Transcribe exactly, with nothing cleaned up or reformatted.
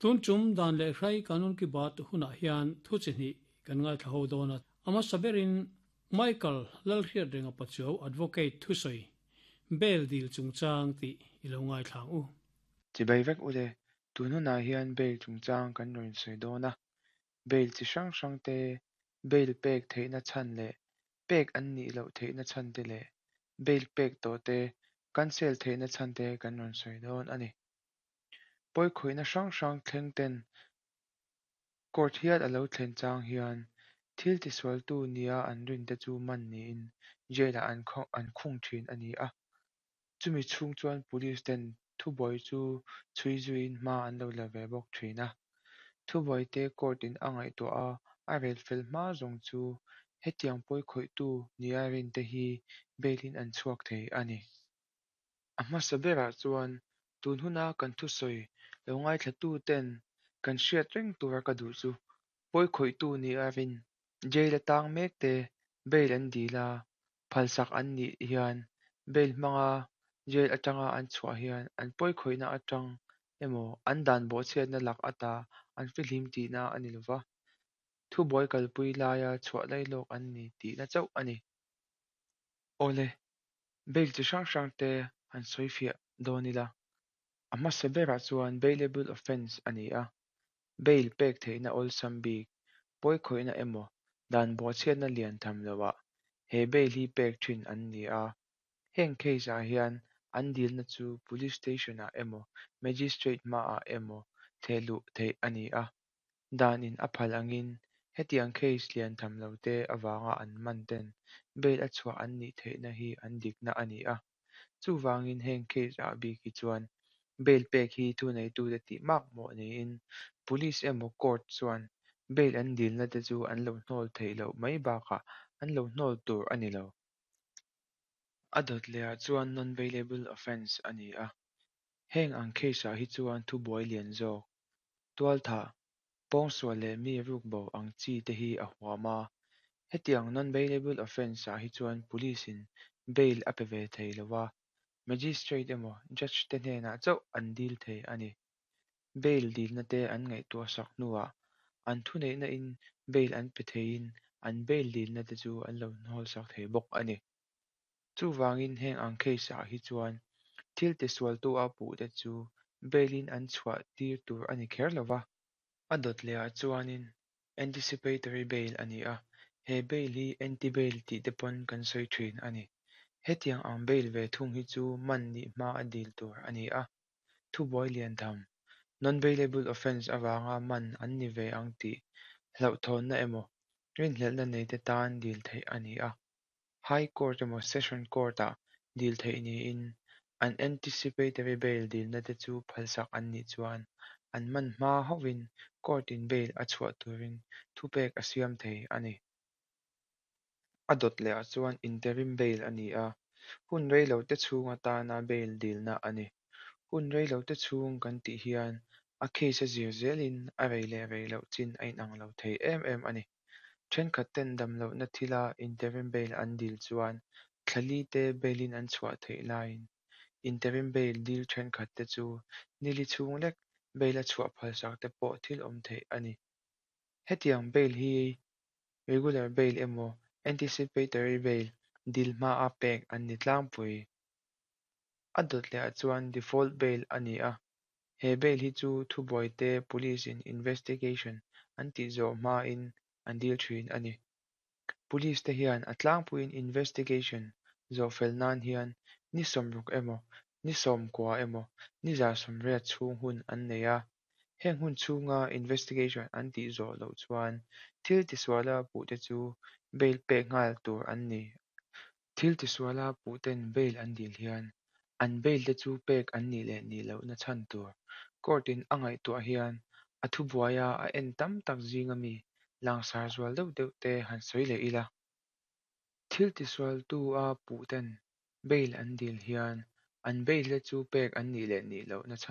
Tun tum dan leh hrai kanun ki bat hunah hian thu chi hnih kan ngaithla ho dawn a. A hmasa berin Michael Lalhriatrenga Pachuau Advocate thusawi bail dil chungchang tih i lo ngaithla ang u. Chibai vek u le, tun hunah hian bail chungchang kan rawn sawi dawn a. Bail chi hrang hrang te, bail pek theihna chhan leh pek an nih loh theihna chhan te leh bail pek tawh te cancel theihna chhan te kan rawn sawi dawn a ni. Pawikhawihna hrang hrang thleng ten court hial a lo thlen chang hian thil tisualtu nia an rin te chu man niin jail ah an an khung thin a ni a. Chumi chhung chuan police ten thubuai chu chhui zuiin hma an lo la ve bawk thin a. Thubuai te court in a ngaihtuah a, a rel fel hma zawng chu hetiang pawikhawihtu nia rin te hi bail in an chhuak thei a ni. A hmasa berah chuan tun huna kan thusawi lo ngaithlatu ten kan hriat reng tura ka duh chu pawikhawihtu nia rin jail atang mek te bail an dil a, phalsak an nih hian bail hmanga jail atanga an chhuah hian an pawikhawihna atang emaw an dan bawhchhiatna lak ata an fihlim tihna a ni lova, thubuai kalpui laia chhuah lailawk an ni tihna chauh a ni. Awle, bail chi hrang hrang te han sawi fiah dawn ila. A hmasa berah chuan bailable offence a ni a, bail pek theihna awlsam bik, pawikhawihna emaw dan bawhchhiatna lian tham loah he bail hi pek thin an ni a. Heng case ah hian an dilna chu police station ah emaw magistrate hmaah emaw thehluh theih a ni a. Dan in a phal angin hetiang case lian tham lo te avanga an man ten bail a chhuah an nih theihna hi an dikna a ni a. Chuvangin heng case ah bik hi chuan bail pek hi thuneitute tih makmawh niin police emaw court chuan bail an dilna te chu an lo hnawl theih loh mai bakah an lo hnawl tur a ni lo. A dawt lehah chuan non-bailable offence a ni a. Heng ang case ah hi chuan thubuai lian zawk, tualthah, pawngsual leh mi rukbo ang chi te hi a huam a. Hetiang non-bailable offence ah hi chuan police in bail a pe ve thei lova, magistrate emaw judge te hnenah chauh an dil thei a ni. Bail dilna te an ngaihtuah sak hnuah an thuneihna in bail an pe theiin an bail dilna te chu an lo hnawl sak thei bawk a ni. Chuvangin heng ang case ah hi chuan thil tisualtu a puh te chu bail in an chhuah tir tur a ni kher lova. A dawt lehah chuanin anticipatory bail a ni a, he bail hi anti-bail tih te pawn kan sawi thin a ni. Hetiang ang bail ve thung hi chu man nih hma a dil tur a ni a. Thubuai lian tham, non-bailable offence avanga man an ni ve ang tih hlauhthawnna emaw rinhlelhna nei te tan dil theih a ni a. High Court emaw Session Court ah dil theih niin an anticipatory bail dilna te chu phalsak an nih chuan an man hma hauhin court in bail a chhuah turin thupek a siam thei a ni. A dawt lehah chuan interim bail a ni a, hun reilo te chhung atana bail dilna a ni. Hun reilo te chhung kan tih hian a case a zir zelin a rei leh rei loh chin a inang lo thei em em a ni. Thenkhat ten damlohna thila interim bail an dil chuan thla li te bail in an chhuah theih laiin interim bail dil thenkhat te chu nili chhung lek bail a chhuah phalsak te pawh thil awm theih a ni. Hetiang bail hi regular bail emaw anticipatory bail dil hma a pek an ni tlangpui. A dawt lehah chuan default bail a ni a, he bail hi chu thubuai te police in investigation an tih zawh hma in an dil thin a ni. Police te hian a tlangpuiin investigation zawh fel nan hian ni sawmruk emaw ni sawmkua emaw ni za sawmriat chhung hun an nei a. Heng hun chhunga investigation an tih zawh loh chuan thil tisuala puh te chu bail pek nghal tur an ni. Thil tisuala puh ten bail an dil hian an bail te chu pek an nih leh nih lohna chhan tur court in a ngaihtuah hian a thubuaia a en tam tak zinga mi langsar zual deuh deuh te han sawi leh ila. Thil tisualtu a puh ten bail an dil hian an bail te chu pek an nih leh nih lohna chhan